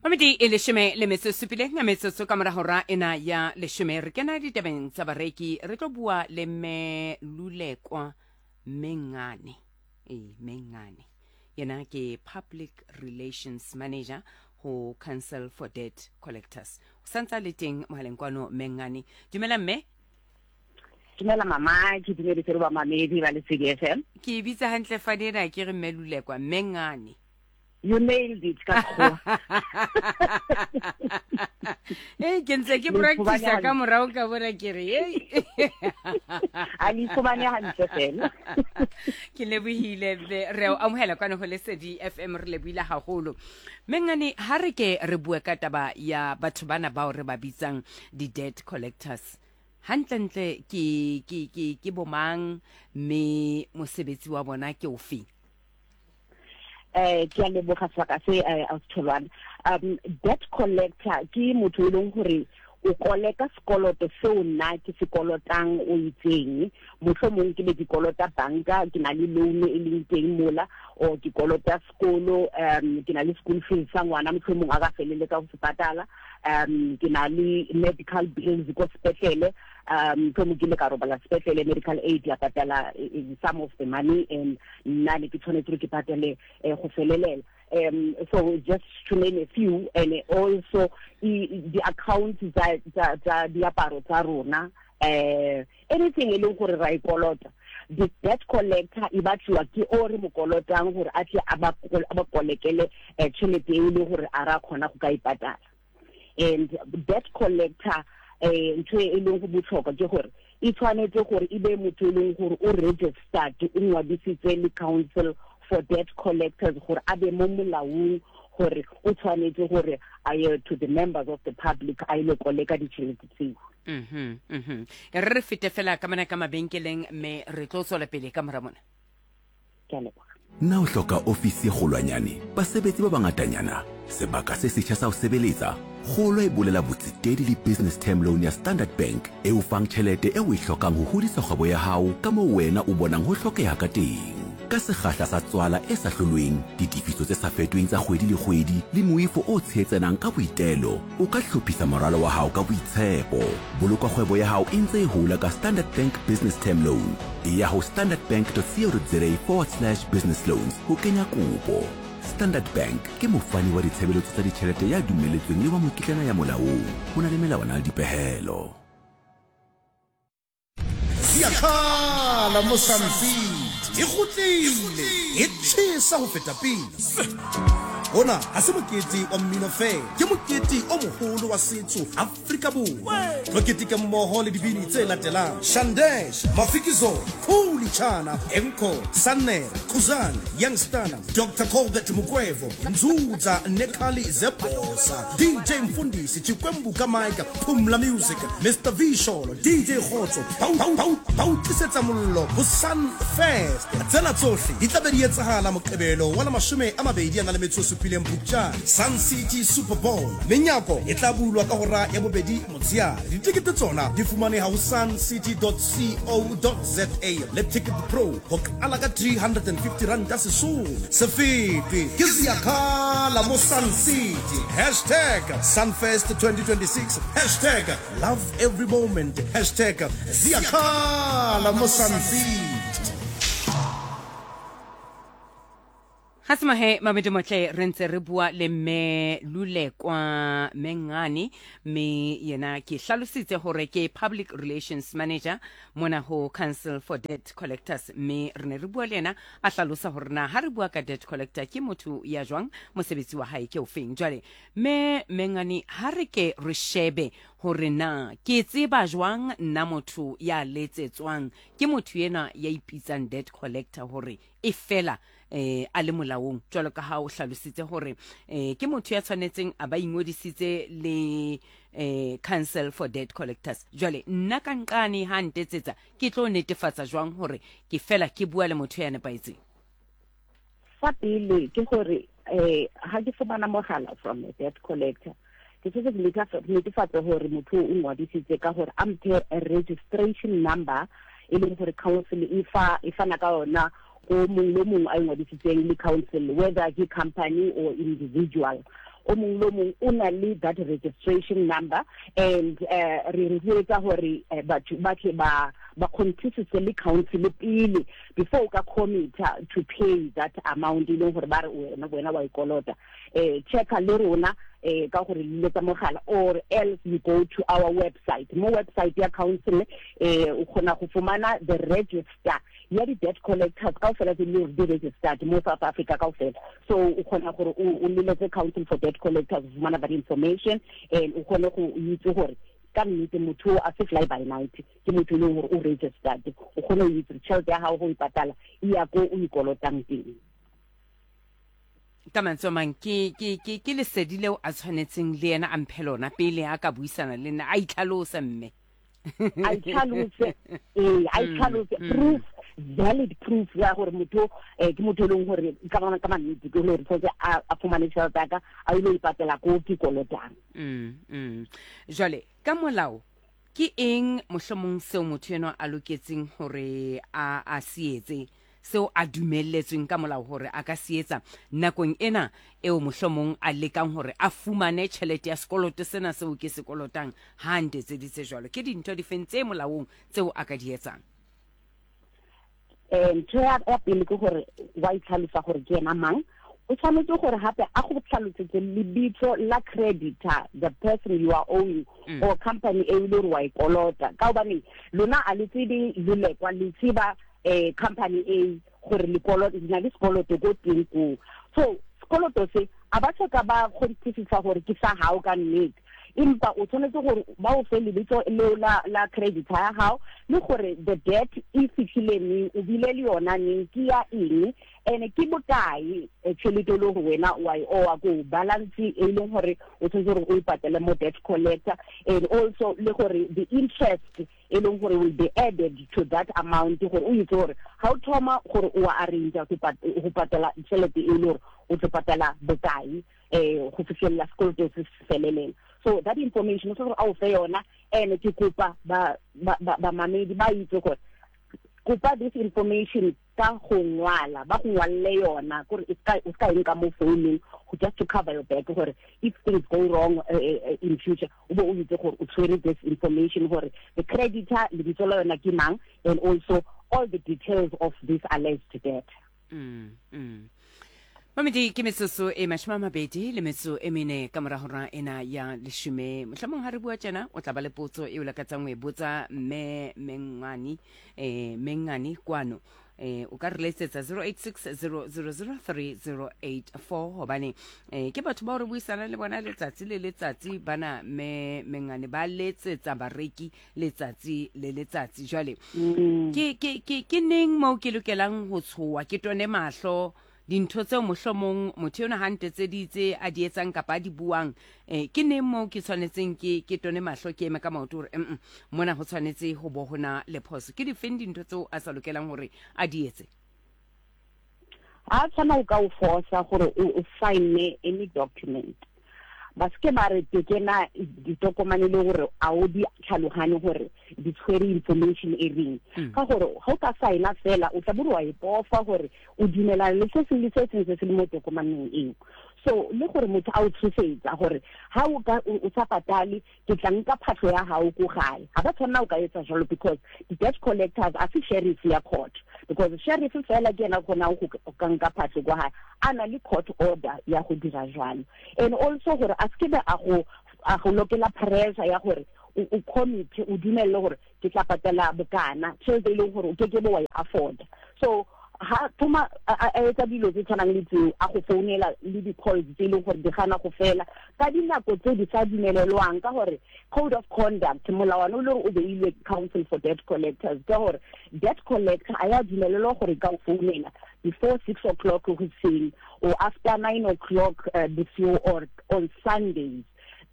Mamedi e leshome le metso e supileng ya metsotso ka mora hora ena ya leshome, re kena ditabeng tsa bareki. Re tlo bua le mme Lulekwa Mengane, ee, Mengane, yena ke public relations manager ho Council for Debt Collectors. O santse a le teng mohaleng kwano. Mengane, dumela mme. Dumela mama, ke dumedise le bamamedi ba Lesedi FM. Ke e bitsa hantle fadena ke re mme Lulekwa Mengane? You nailed it ka sekgowa. Ee, ke ntse ke practice ka morago ka bona ke re ei. A le ifumane hantle fela. Ke lebohile mme re o amohela kwano ho Lesedi FM, re lebohile haholo. Mengane, ha re ke re bue ka taba ya batho bana bao re ba bitsang di-debt collectors. Hantlentle ke ke ke ke bomang mme mosebetsi wa bona ke ofe? Ke a leboga sebaka se, Ausi Tholwana. Debt collector ke motho e leng gore o koleka sekoloto seo nna ke se kolotang o itseng. Mohlomong ke be ke kolota banka, ke na le loan e leng teng mola, or ke kolota sekolo, ke na le school fees sa ngwana, mohlomong a ka feleletsa go se patala, ke na le medical bills ko sepetlele, mohlomong ke ile ka robala sepetlele, medical aid ya patala some of the money and nna ne ke tshwanetse gore ke patele go felelela. So just to name a few, and also di-accounts tsa diaparo tsa rona, anything e leng gore ra e kolota, the debt collector e batliwa ke o re mo kolotang gore a tle a ba kolekele tšhelete e le gore a ra kgona go ka e patala. And debt collector, ntho e leng go botlhokwa ke gore e tshwanetse gore e be motho e leng gore o registered, o ngwadisitse le Council for Debt Collectors, gore a be mo molaong gore o tshwanetse gore a ye to the members of the public a ile koleka ditšhelete tseo. E re re fete fela ka mona ka mabenkeleng mme re tlo tswela pele ka mora mona. Ke a leboga. Na o hloka ofisi e kgolwanyane, basebetsi ba bangatanyana, sebaka se setjha sa ho sebeletsa? Kgolo e bolela botsetedi le Business Term Loan ya Standard Bank e o fang tjhelete eo o e hlokang ho hodisa kgwebo ya hao ka moo wena o bonang ho hlokeha ka teng. Ka sekgahla sa tswala e sa hlolweng, ditefiso tse sa fetoheng tsa kgwedi le kgwedi le moifo o tshehetsanang ka boitelo, o ka hlophisa moralo wa hao ka boitshepo. Boloka kgwebo ya hao e ntse e hola ka Standard Bank Business Term Loan. Eya ho standardbank.co.za forward slash business loans ho kenya kopo. Standard Bank ke mofani wa ditshebeletso tsa ditjhelete ya dumelletsweng le wa mokitlana ya molaong. Ho na le melawana le dipehelo. Ziyakhala mo Sun City, e kgutlile, e tjhesa ho feta pele. Ona ha se mokete wa mmino feela, ke mokete o moholo wa setso Afrika Borwa. Tlo keteke mmoho le dibini tse latelang: Shandesh, Mafikizolo, Khuli Chana, Enco, Sannere, Khuzani, Youngstana, Dr Colbert Mukwevho, Nzudza Nekhali Zebhosa, DJ Mfundisi, Chikwembu ka Mike, Phumla Music, Mr V Sholo, DJ Kgotso, ba o tlisetsa mollo ho Sun Fest. Tsena tsohle di tla be di etsahala Moqebelo wa la 27 Phupjane, Sun City Super Bowl. Menyako e tla bulwa ka hora ya bobedi motsheare. Ditekete tsona di fumaneha ho suncity.co.za le Ticket Pro ho qala ka 350 ranta sesolo. Se fetwe ke Ziyakhala mo Sun City. Hashtag Sunfest 2026. Hashtag love every moment. Hashtag Ziyakhala mo Sun City. Ga se mahe mabedi motle, re ntse re bua le mme Lulekwa Mengane, mme yena ke hlalositse hore ke public relations manager mona ho Council for Debt Collectors, mme re ne re bua le yena a hlalosa hore na ha re bua ka debt collector ke motho ya jwang, mosebetsi wa hae ke ofeng. Jwale mme Mengane, ha re ke re shebe hore na ke tseba jwang nna motho ya letsetswang ke motho enwa ya ipitsang debt collector hore e fela a le molaong, jwalo ka ha o hlalositse hore ke motho ya tshwanetseng a ba ingodisitse le Council for Debt Collectors. Jwale nna ka nqane ha ntetsetsa, ke tlo netefatsa jwang hore ke fela ke bua le motho ya nepahetseng? Sa pele ke gore ha ke fumana mogala from a debt collector, ke se ke netefatse gore motho o ngwadisitse ka gore a mphe registration number e leng gore council e fa e fana ka yona ko mongwe le mongwe a ingwadisitseng le council, whether ke company or individual. O mong le o mong o na le that registration number, and re rotloetsa gore batho ba tle ba ba kgonthisise le council pele before o ka commit-a to pay that amount e leng gore ba re wena wena wa e kolota. Checka le rona ka gore liletsa mogala, or else you go to our website. Mo website ya council o kgona go fumana the register ya di-debt collectors kaofela tse di di registered mo South Africa kaofela. So o kgona gore o leletse Council for Debt Collectors go fumana that information, and o kgone go itse gore ka nnete motho a se fly by night, ke motho e leng gore o registered. O kgone go itse tšhelete ya gago go e patala e ya ko o ikolotang teng. Ka mantswe a mang, ke ke ke ke lesedi leo a tshwanetseng le yena a mphe lona pele a ka buisana le nna, a itlhalose mme. A itlhalose, ee, a itlhalose, proof, valid proof ya gore motho ke motho e leng gore ka ka mannete ke gore tshwanetse a fumane tšhelete ya ka, a ile ipatela ko ke kolotang. Jwale ka molao ke eng mohlomong seo motho enwa a loketseng hore a se etse, seo a dumelletsweng ka molao hore a ka se etsa nakong ena eo mohlomong a lekang hore a fumane tjhelete ya sekoloto sena seo ke se kolotang ha a ntetseditse jwalo? Ke dintho difeng tse molaong tseo a ka di etsang? Ntho ya pele ke gore wa itlhalosa gore ke ena mang. O tshwanetse gore gape a go tlhalosetse lebitso la creditor, the person you are owing, or company e le gore wa e kolota, ka gobane lona a le tsebe Lulekwa, le tseba company e gore le na le sekoloto ko teng koo. So sekoloto se a ba soka ba kgonthisisa gore ke sa gago ka nnete, empa o tshwanetse gore ba o fe lebitso leo la creditor ya gago, le gore the debt e fitlhile neng, o bile le yona neng, ke ya eng, ene ke bokae tšhelete e le gore wena wa e owa ko balance e leng gore o tshwanetse gore o e patele mo debt collector, and also le gore the interest e leng gore will be added to that amount, gore o itse gore ga o thoma gore o a arrange go patela tšhelete e le gore o tlo patela bokae go fitlhelela sekoloto se se felelela. So that information o tshwanetse gore a o fe yona. And ke kopa bamamedi ba itse gore kopa this information ka go ngwala, ba go ngwalle yona, gore o ska e nka mo founung, just to cover your back, gore if things go wrong in future o bo o itse gore o tshwere this information, gore the creditor lebitso la yona ke mang, and also all the details of this alleged debt. Mamedi, ke metsotso e 24 ka mora hora ena ya 10. Mohlomong ha re bua tjena o tla ba le potso e o lakatsang ho e botsa mme Mengani, Mengani kwano. O ka re letsetsa 0860003084, hobane ke batho bao re buisana le bona letsatsi le letsatsi bana mme Mengani, ba letsetsa bareki letsatsi le letsatsi. Jwale ke neng moo ke lokelang ho tshoha, ke tone mahlo dintho tseo mohlomong motho enwa ha ntetseditse a di etsang kapa a di buang, ke neng moo ke tshwanetseng ke tone mahlo, ke eme ka maoto hore mona ho tshwanetse ho bo hona le phoso? Ke difeng dintho tseo a sa lokelang hore a di etse? Ha tshwana o ka o forsa gore o sign any document, ba seke ba re tekena ditokomane le gore a o di tlhaloganye gore di tshwere information e reng, ka gore ga o ka signa fela o tla bore wa ipofa gore o dumelana le se sengwe le se sengwe se se le mo tokomaneng eo. So le gore motho a o tshosetsa gore ha o ka o sa patale ke tla nka phahlo ya gago ko gae, ga ba tshwanela o ka etsa jalo, because di-debt collectors a se sheriff ya court, because sheriff fela ke ena kgonang go ka nka phahlo kwa gae a na le court order ya go dira jalo. And also gore a seke be a go lokela pressure ya gore o commit, o dumelele gore ke tla patela bokana, tšhelete e leng gore o keke be wa e afforda. So ha thoma a etsa dilo tse tshwanang le tseo, a go founela le di-calls tse e leng gore di gana go fela ka dinako tse di sa dumelelwang, ka gore code of conduct, molawana o le gore o beilwe Council for Debt Collectors, ka gore debt collector a ya dumelelwa gore ka o founela before 6 o'clock hoseng or after 9 o'clock bosigo or on Sundays.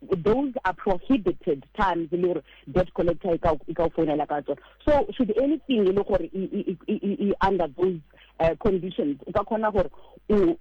Those are prohibited times le gore debt collector e ka o founela ka tsona. So should anything e le gore e under those conditions, o ka kgona gore o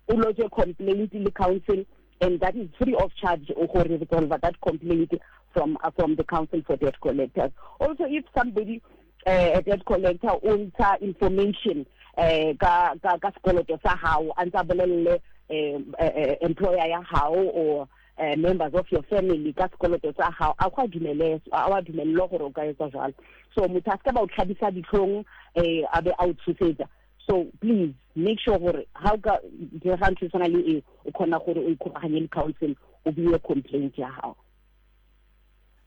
lodge complaint le council, and that is free of charge gore resolve that complaint from the Council for Debt Collectors. Also, if somebody, a debt collector, o ntsha information ka sekoloto sa hao, a ntsa bolelle. employer ya hao or members of your family ka sekoloto sa hao, a go a dumele, a wa dumellwa gore o ka etsa jwalo. So motho a se ka ba o tlhabisa ditlhong, a be a o tshosetsa. So please make sure gore ha o ka direga ntho e tshwana le eo, o kgona gore o ikgokaganye le council, o bue complaint ya gago.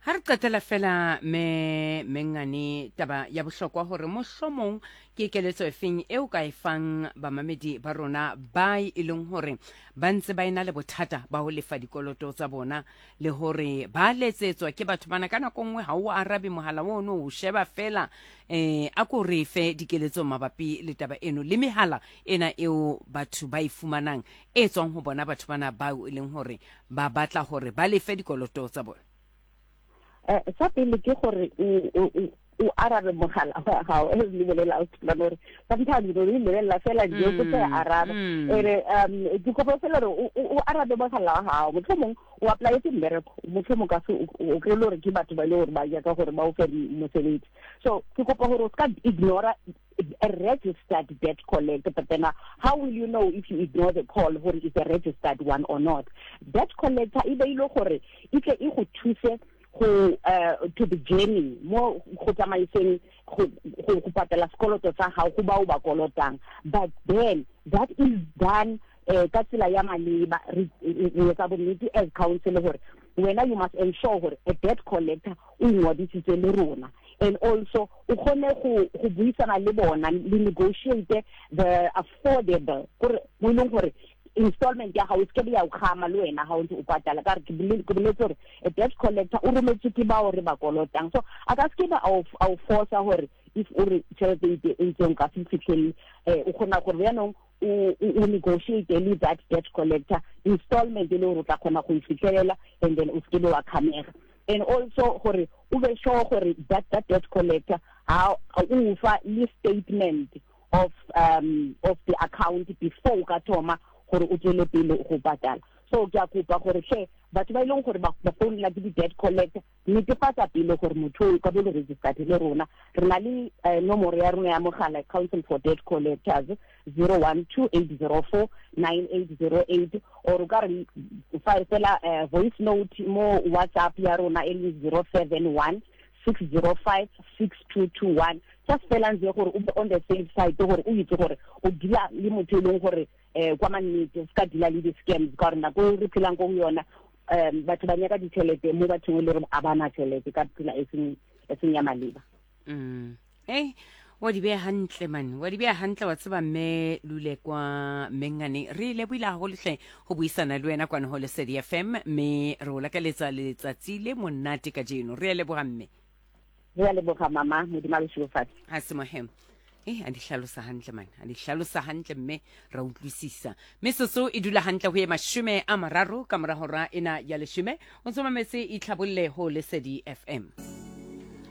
Ha re qetela fela me mengane, taba ya bohlokwa hore mohlomong ke keletso efeng eo ka e fang bamamedi ba rona ba e leng hore ba ntse ba ena le bothata ba ho lefa dikoloto tsa bona, le hore ba letsetswa ke batho bana ka nako nngwe ha o arabe mohala ono, o sheba fela. A ko re fe dikeletso mabapi le taba eno le mehala ena eo batho ba e fumanang e tswang ho bona batho bana bao e leng hore ba batla hore ba lefe dikoloto tsa bona. Sa pele ke gore o arabe mogala wa gago, e le bolela o thulana gore sometimes o re lebelela fela nje, o tsa araba. Ere ke kopa fela gore o arabe mogala wa gago. Mohlomong o applyetse mmereko, mohlomong ka se o kry-e le gore ke batho ba e le gore ba nyaka gore ba o fe mosebetsi. So ke kopa gore o se ka ignora a registered debt collector. But then how will you know if you ignore the call gore it's a registered one or not? Debt collector e beilwe gore e tle e go thuse go to the journey mo go tsamaiseng go go patela sekoloto sa gago go bao ba kolotang, but then that is done ka tsela ya maleba. Re etsa bonnete as council gore wena you must ensure gore a debt collector o ingwadisitse le rona, and also o kgone go buisana le bona, le negotiate the affordable, gore mo e leng gore installment ya gago e seke ya o kgama le wena ga o ntse o patala. Ka re ke boletse gore a debt collector o rometswe ke bao re ba kolotang, so a ka seke ba a o forsa gore if o re tšhelete e itseng ka se fitlhelele. O kgona gore jaanong o negotiate le that debt collector installment e le gore o tla kgona go e fitlhelela, and then o seke be wa kgamega. And also gore o be sure gore that debt collector ha o fa le statement of the account before o ka thoma gore o tswele pele go patala. So ke a kopa gore tlhe batho ba e leng gore ba founela ke di-debt collector, netefatsa pele gore motho o ka bo le registered le rona. Re na le nomoro ya rona ya mogala, Council for Debt Collectors, 012 804 9808, or o ka re fa fela voice note mo WhatsApp ya rona e leng 071 605 6221. Just fela ntse gore o be on the safe side, gore o itse gore o deala le motho e leng gore kwa mannete, o ska deala le di-scams, ka gore nako e re phelang ko go yona, batho ba nyaka ditšhelete mo bathong e le gore a bana tšhelete ka tsela e seng ya maleba. Wa di beha hantle man, wa di beha hantle, wa tseba mme Lule kwa Mengane, re lebohile haholo hle ho buisana le wena kwano ho Lesedi FM, mme re o lakaletsa letsatsi le monate kajeno. Re a leboha, mme. Re a leboga mama, Modimo a le šegofatse. Ha se mohem a di hlalosa hantle man, a di hlalosa hantle mme ra utlwisisa. Metsotso e dula hantle ho ye 30 ka mora hora ena ya 10. O ntso mametse Itlhabolle ho Lesedi FM.